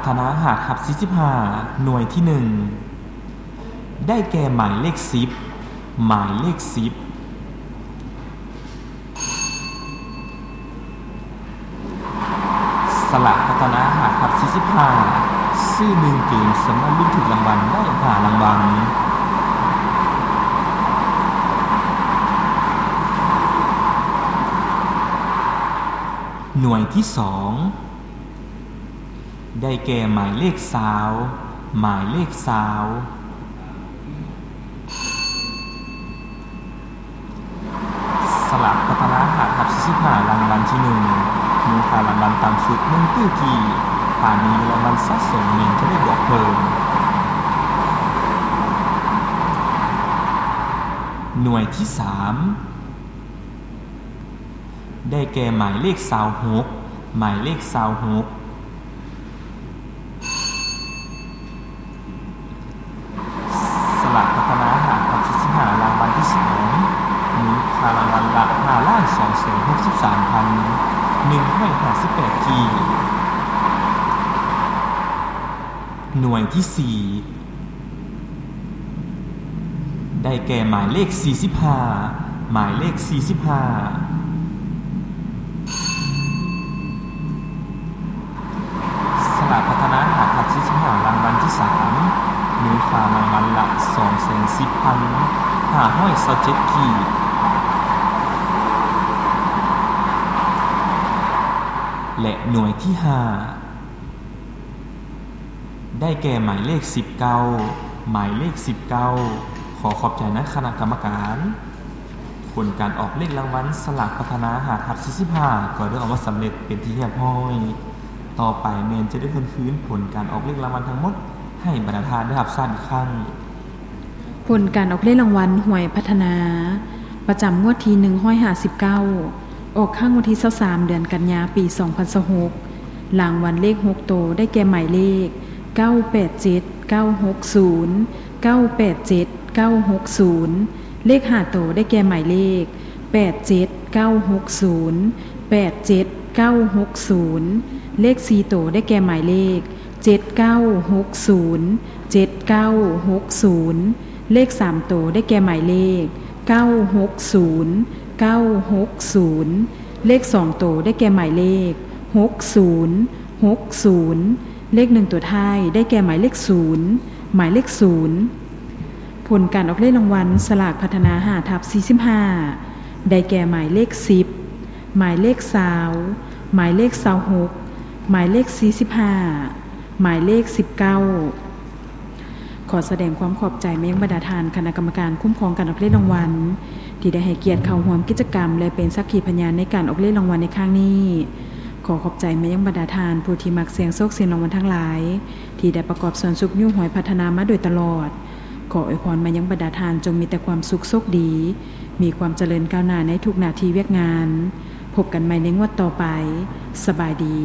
ທະນາ ຫ້າທັບສີ່ສິບຫ້າ ໜ່ວຍທີໜຶ່ງ ໄດ້ແກ່ໝາຍເລກສິບ ໝາຍເລກສິບ. ສະຫຼາກພັດທະນາ ຫ້າທັບສີ່ສິບຫ້າ ຊື້ໜຶ່ງເກມ ສາມາດລຸ້ນຖືກລາງວັນໄດ້ຫ້າລາງວັນ. ໜ່ວຍທີສອງ ໄດ້ແກ່ໝາຍເລກຊາວ ໝາຍເລກຊາວ. ສະຫຼາກພັດທະນາ ຫ້າທັບສີ່ສິບຫ້າ ລາງວັນທີໜຶ່ງ ມູນຄ່າລາງວັນຕ່ຳສຸດ ໜຶ່ງຕື້ກີບ ຖ້າມີລາງວັນສະສົມແມ່ນຈະໄດ້ບວກເພີ່ມ. ໜ່ວຍທີສາມ ໄດ້ແກ່ໝາຍເລກຊາວຫົກ ໝາຍເລກຊາວຫົກ. ສະຫຼາກພັດທະນາ ຫ້າທັບສີ່ສິບຫ້າ ລາງວັນທີສອງ ມູນຄ່າລາງວັນລະ ຫ້າລ້ານສອງແສນຫົກສິບສາມພັນໜຶ່ງຮ້ອຍຫ້າສິບແປດກີບ. ໜ່ວຍທີສີ່ ໄດ້ແກ່ໝາຍເລກສີ່ສິບຫ້າ ໝາຍເລກສີ່ສິບຫ້າ. ສະຫຼາກພັດທະນາ ຫ້າທັບສີ່ສິບຫ້າ ລາງວັນທີສາມ ມູນຄ່າລາງວັນລະ ສອງແສນສິບພັນຫ້າຮ້ອຍຊາວເຈັດກີບ. ແລະ ໜ່ວຍທີຫ້າ ໄດ້ແກ່ໝາຍເລກສິບເກົ້າ ໝາຍເລກສິບເກົ້າ. ຂໍຂອບໃຈນະຄະນະກຳມະການ. ຜົນການອອກເລກລາງວັນສະຫຼາກພັດທະນາ ຫ້າທັບສີ່ສິບຫ້າ ກໍໄດ້ອອກມາສຳເລັດເປັນທີ່ຮຽບຮ້ອຍ. ຕໍ່ໄປແມ່ນຈະໄດ້ທວນຄືນຜົນການອອກເລກລາງວັນທັງໝົດ ໃຫ້ບັນດາທ່ານໄດ້ຮັບຊາບອີກຄັ້ງ. ຜົນການອອກເລກລາງວັນຫວຍພັດທະນາ ປະຈຳງວດທີໜຶ່ງຮ້ອຍຫ້າສິບເກົ້າ ອອກຄັ້ງວັນທີຊາວສາມ ເດືອນກັນຍາ ປີສອງພັນຊາວຫົກ. ລາງວັນເລກຫົກໂຕ ໄດ້ແກ່ໝາຍເລກ ເກົ້າແປດເຈັດເກົ້າຫົກສູນ ເກົ້າແປດເຈັດເກົ້າຫົກສູນ. ເລກຫ້າໂຕ ໄດ້ແກ່ໝາຍເລກ ແປດເຈັດເກົ້າຫົກສູນ ແປດເຈັດເກົ້າຫົກສູນ. ເລກສີ່ໂຕ ໄດ້ແກ່ໝາຍເລກ ເຈັດເກົ້າຫົກສູນ ເຈັດເກົ້າຫົກສູນ. ເລກສາມໂຕ ໄດ້ແກ່ໝາຍເລກ ເກົ້າຫົກສູນ ເກົ້າຫົກສູນ. ເລກສອງໂຕ ໄດ້ແກ່ໝາຍເລກ ຫົກສູນ ຫົກສູນ. ເລກໜຶ່ງໂຕທ້າຍ ໄດ້ແກ່ໝາຍເລກສູນ ໝາຍເລກສູນ. ຜົນການອອກເລກລາງວັນສະຫຼາກພັດທະນາ ຫ້າທັບສີ່ສິບຫ້າ ໄດ້ແກ່ໝາຍເລກສິບ ໝາຍເລກຊາວ ໝາຍເລກຊາວຫົກ ໝາຍເລກສີ່ສິບຫ້າ ໝາຍເລກສິບເກົ້າ. ຂໍສະແດງຄວາມຂອບໃຈມາຍັງບັນດາທ່ານຄະນະກຳມະການຄຸ້ມຄອງການອອກເລກລາງວັນ ທີ່ໄດ້ໃຫ້ກຽດເຂົ້າຮ່ວມກິດຈະກຳ ແລະ ເປັນສັກຂີພະຍານໃນການອອກເລກລາງວັນໃນຄັ້ງນີ້. ຂໍຂອບໃຈມາຍັງບັນດາທ່ານຜູ້ທີ່ມັກສ່ຽງໂຊກສ່ຽງລາງວັນທັງຫຼາຍ ທີ່ໄດ້ປະກອບສ່ວນຊຸກຍູ້ຫວຍພັດທະນາມາໂດຍຕະຫຼອດ. ຂໍອວຍພອນມາຍັງບັນດາທ່ານຈົ່ງມີແຕ່ຄວາມສຸກໂຊກດີ, ມີຄວາມຈະເລີນກ້າວໜ້າໃນທຸກໜ້າທີ່ວຽກງານ. ພົບກັນໃໝ່ໃນງວດຕໍ່ໄປ. ສະບາຍດີ.